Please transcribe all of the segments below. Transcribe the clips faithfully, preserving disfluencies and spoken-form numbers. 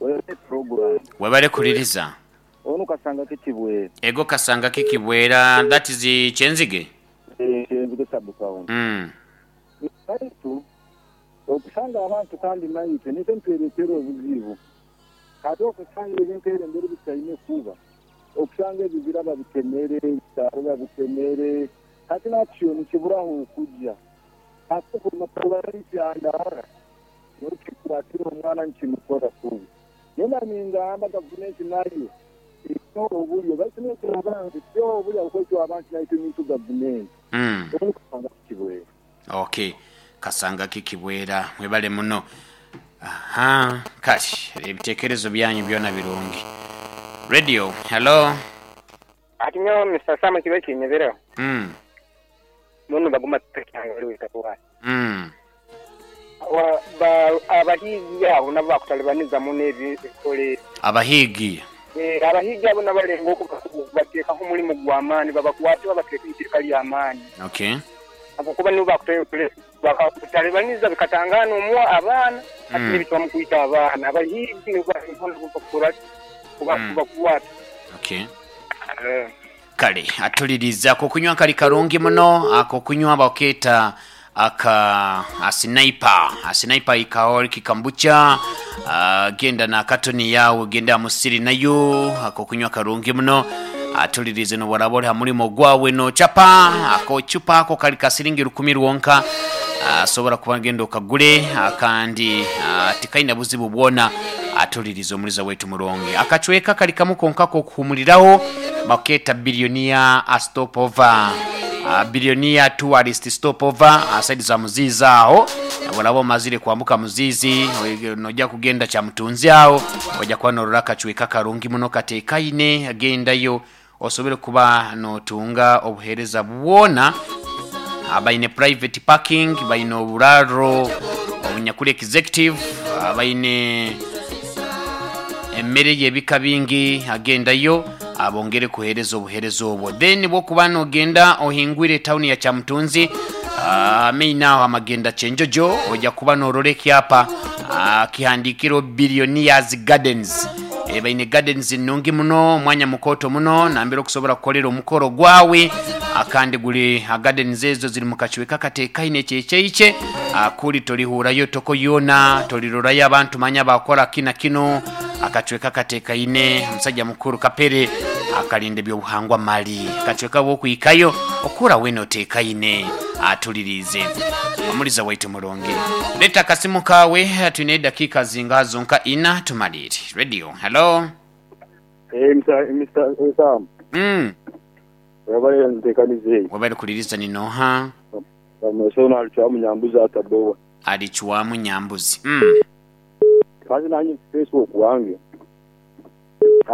Webale program. Webale kuliriza. Ono kasanga kikibwera. Ego kasanga kikibwera, that is Kyenzige. Eh, Kyenzige sub-county. Mm. Baitu okusanga abantu kandi naitwe nitwe nitweretera obuzibu. Kati okusanga ebintu ebyo emberi bitaine kuba, okusanga ebibira babitemere, ebisaaru babitemere, kati nakyo nikiburaho okujja. Kati okumakubakyandara nokikwatira omwana nikimukora kubi. Nena ningamba gavumenti nayo erina obulyo, baitu naitwe abantu tyo obulyo ahabw'okuba abantu naitwe nitwe gavumenti. Mm. Onu kasanga kikibwera. Okay. Kasanga kikibwera mwebale muno. Aha, kale ebitekerezo byanyu byona birungi. Radio, hello. Ati nyowe Mister Sam kibe kinyebereho. Mm. Muno baguma tukyanga. Mm. Abahigi abo nabo bakutalibaniza muno ebikole. Abahigi. Eh, abahigi abo nabalenga okubateekaho omulimu gw'amaani, babakwate babateeke mwiteeka ly'amaani. Okay. Ahabwokuba nibo bakutalibaniza bikatangana omwo abaana, ati Mm. nibitwa mukwita abaana. Abahigi nibo bakukora Mm. kubakwata. Okay. Eh. Kale atuliriza ako kunywa kali karungi muno, ako kunywa baketa aka asinaipa asinaipa ikaori kikambucha, uh, genda na katoni yawe genda musiri nayo ako kunywa karungi muno. Atulirize no borabora ha mulimo gwawe no chapa ako chupa ako kali kasiringi rukumi rwonka, asobora kuba genda okagule akandi tikaina buzibu bwona. Atulirize omuliza wetu muronge akachweka kali kamukonka ko kuhumuliraho baketa bilionia a stopover, uh, bilionia tourist stopover asaidi za Muzizi aho bolabo mazire kwambuka Muzizi nojja kugenda kya mutunzi aho ojja kuba norora akachweka karungi muno katekaine agendayo osobole kuba notunga obuhereza bwona. Baine private parking, baine oburaro obunyakuli executive, baine emmere y'ebika bingi, agendayo abongere kuhereza obuhereza obwo. Then bwokuba nogenda ohingwire town ya Kyamutunzi, uh, main aho amagenda Kyenjojo ojja kuba norora ekyapa uh, kihandikiro Billionaires Gardens. E, baine gardens nungi muno, omwanya mukoto muno nambere okusobola kukolera omukoro gwawe akandi guli gardens ezo ziri mu kachweka katekaine kyekyeikye akuli tolihurayo toko yona tolirorayo abantu manya bakora kina kino akachweka katekaine. Omusajja mukuru Kapere akalinda ebyobuhangwa mali akachweka bwokwikayo okura weno tekaine atulirize omuliza waitu mulungi. Leta akasimu kawe twine dakika zinga zonka ina tumalire. Radio, hello. Eh, Mister Mister Sam. Mm. Wabale ntekanize. Wabale kuliriza ni noha? Amasona alichwamu Nyambuzi atabowa. Alichwamu Nyambuzi. Mm. Kazi nanyi Facebook wange.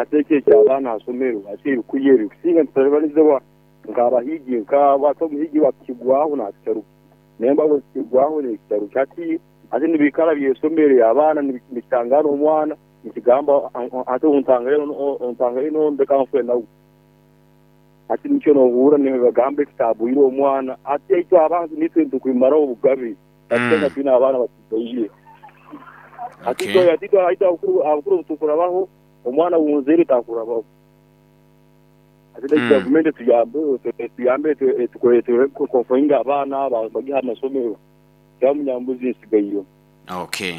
Ateke kyabana asomero ati kuyeri kusinga ntalibanizewa nkabahigi nkaba muhigi wakigwaho na kitaru. Nemba wakigwaho ne kitaru kati ate nibikala byesomero abaana nibitangana omwana nikigamba ate ontangale ontangale no ndeka nfwe nawe. Ati nikyo nohura nibagamba ekitabu omwana ati ekyo abantu nitwe ntukwimara obugabi ate twina abaana batubaire. Ati Okay. ati ati abukuru tukurabaho omwana wunzeri takurabaho. Ati Mm. gavumenti tuyambe tuyambe tukoletere kukonfoinga abaana bagiha amasomero Kyamunyambuzi nsigayo. Okay.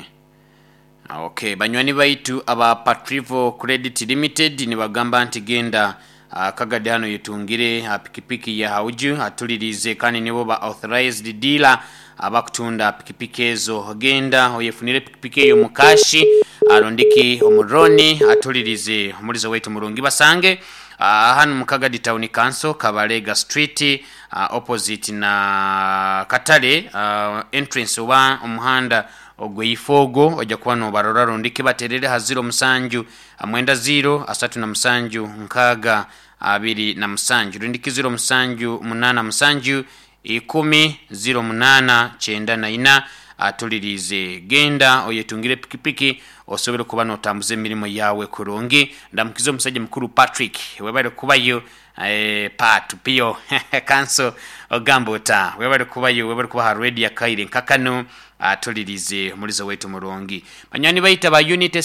Okay, banywani baitu aba Patrivo Credit Limited nibagamba nti genda uh, Kagadi hano yetungire uh, pikipiki ya hauju atulirize kandi nibo ba authorized dealer abakutunda pikipiki ezo. Genda oyefunire pikipiki eyo mukashi arondiki omuroni atulirize omulizo waitu murungi basange uh, hano Mukagadi Town Council Kabalega Street, uh, opposite na Katale, uh, entrance oba omuhanda ogweifogo ojja kuba nobarora rondiki baterere ha ziro musanju mwenda ziro asatu na musanju nkaga abiri na musanju rondiki ziro musanju munana musanju ikumi ziro munana kyenda na ina atulirize. Genda oyetungire pikipiki osobole kuba notambuza emirimu yawe kurungi. Ndamukiza omusajja mukuru Patrick webale kubayo, eh, patu pio kanso ogamba ota webale kubayo, webale kuba ha radio akaire nkakano atulirize omulizo wetu murungi. Banywani baita ba Unity.